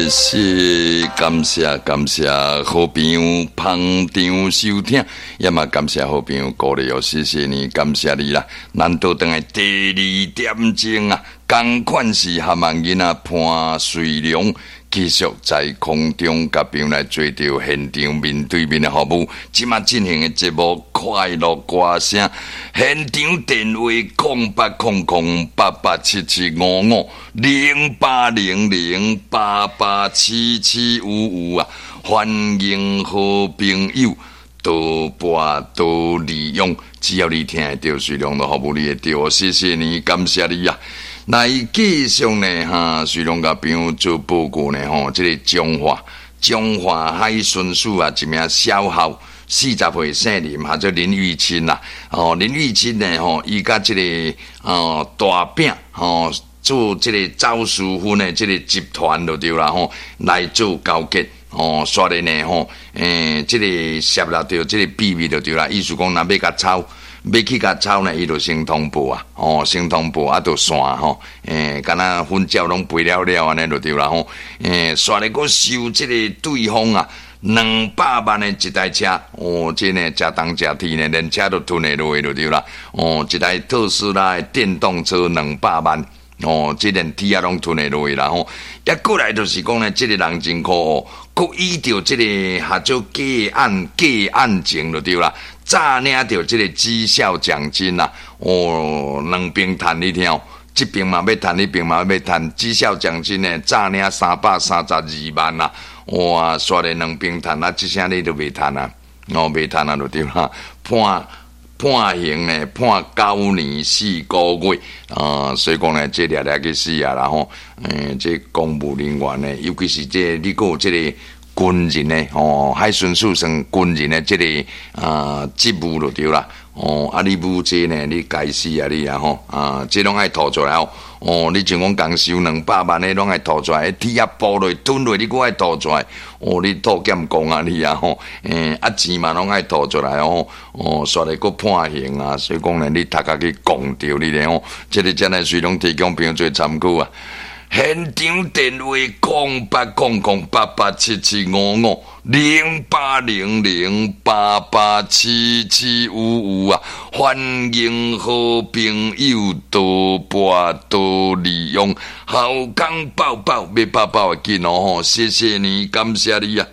謝謝，感謝感謝好朋友捧場收聽，也嘛感謝好朋友鼓勵哦，謝謝你，感謝你啦。難得轉來第二點鐘啊，仝款是含萬囡仔潘瑞良。繼續在空中佮朋友來做著現場面對面的服務。這馬進行的節目《快樂歌聲》，現場電話08008877550800887755啊，歡迎好朋友多撥多利用，只要你聽會著，瑞良都服務你會著。謝謝你，感謝你啊！來繼續呢，哈，瑞良共朋友做報告呢，吼，這个彰化彰化海巡署啊，一名少校40歲姓林，號做林玉清啦，哦，林玉清呢，吼，伊佮這个哦大餅吼做這个走私粉的這个集團就對啦，吼，來做勾結。哦，煞咧呢，吼，這个泄露著這个秘密就對啦，意思講，若欲共抄。欲去共抄呢，伊就先通報啊，哦，先通報啊，就散吼，敢若粉鳥攏飛了了按呢就對啦吼，煞咧閣收這个對方啊200萬的一台車，哦，這呢誠重誠鐵呢，連車都吞會落就對啦，哦，一台特斯拉的電動車兩百萬。哦，這連鐵仔攏吞會落啦吼，抑過來就是講呢，這个人真可惡，閣依著這个合做假案假案情就對啦，詐領著這个績效獎金啦，哦，兩邊趁你聽，這邊嘛欲趁，彼邊嘛欲趁，績效獎金呢，詐領332萬啦，哇，煞咧兩邊趁啊，這聲你都袂趁啊，哦，袂趁啊，就對啦，判刑呢，判9年4個月啊，所以講呢，這掠掠去死啊啦吼！這公務人員呢，尤其是這你閣有這个軍人呢，吼，海巡署算軍人的這个啊職務就對啦。哦，啊，你無這呢，你該死啊你啊吼！啊，這攏愛吐出來哦。哦，你像講共收兩百萬的，攏愛吐出來，鐵仔剝落吞落，你閣愛吐出來。哦，你吐劍講啊你啊吼！啊錢嘛攏愛吐出來哦。哦，煞咧閣判刑啊，所以講呢，你頭殼去摃著你咧吼。這个真係瑞攏提供朋友做參考啊。現場電話08008877550800887755啊！歡迎好朋友多撥多利用，好康報報欲報報會緊哦吼！謝謝你，感謝你啊！